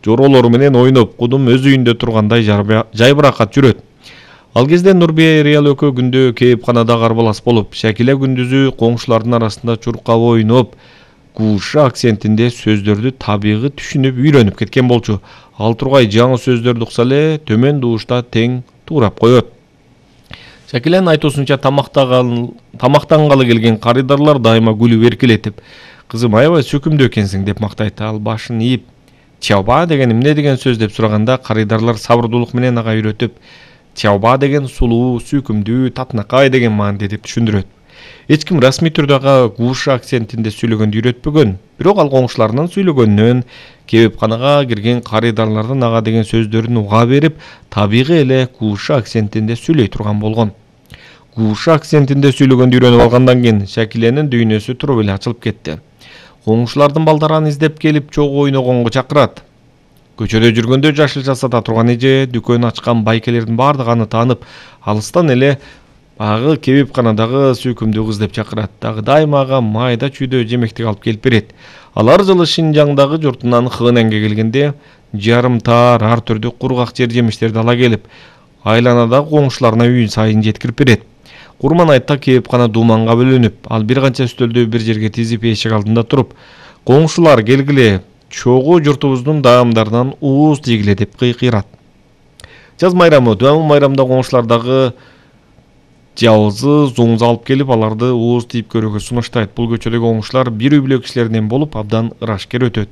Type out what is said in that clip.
жоролору менен ойноп, кудум өз үйүндө тургандай жайбыракат жүрөт. Ал кезде Нурбия Реал экөө күндө кээпканада карбалас болуп, Шакила күндүзү коңшулардын арасында чуркап ойноп, Кууша акцентинде сөздөрдү табигый түшүнүп үйрөнүп кеткен болчу. Ал тургай жаңы сөздөрдү укса эле төмөн дуушта тең туурап коет. Шакиланын айтуусунча тамактангалы келген карыдарлар дайыма күлүп эркелетип, кызым аябай сөкүмдүү экенсиң деп мактайт. Ал башын ийип, чаба деген эмне деген сөз деп сураганда карыдарлар сабырдуулук менен ага үйрөтүп, чаба деген сулуу, сүйкүмдүү, татынакай деген мааниде деп түшүндүрөт. Эч ким расмий түрдө ага Кууша акцентинде сүйлөгөндү үйрөтпөгөн, бирок ал коңшуларынын сүйлөгөнүнөн, кебепканага кирген карыдарлардын ага деген сөздөрүн уга берип, табигый эле Кууша акцентинде сүйлөй турган болгон. Кууша акцентинде сүйлөгөндү үйрөнүп алгандан кийин Шакиленин дүйнөсү туруп эле ачылып кетти. Коңшулардын балдары аны издеп келип чогуу ойногонго чакырат. Көчөдө жүргөндө жашылча сата турган эже, дүкөн ачкан байкелердин баардыгы аны таанып, алыстан эле агы кебепканадагы сүйкүмдүү кыз деп чакырат. Дагы дайыма ага майда чүйдө жемектик алып келип берет. Алар жылы Шинжаңдагы журтунан Хэнанга келгенде, жарымтаар ар түрдүү кургак жер жемиштерди ала келип, айланадагы коңшуларына үй сайын жеткирип берет. Курман айтта кебепкана дууманга бөлүнүп, ал бир канча үстөлдү бир жерге тизип эшик алдында туруп, коңшулар келгиле, чогуу журтубуздун даамдарынан ууз тийгиле деп кыйкырат. Жаз майрамы, Дуамыл майрамда коңшулардагы жабызы, зуңза алып келип, аларды ууз тийип көрүүгө сунуштайт. Бул көчөдөгү коңшулар бир үй бүлө кишилеринен болуп, абдан ырашкер өтөт.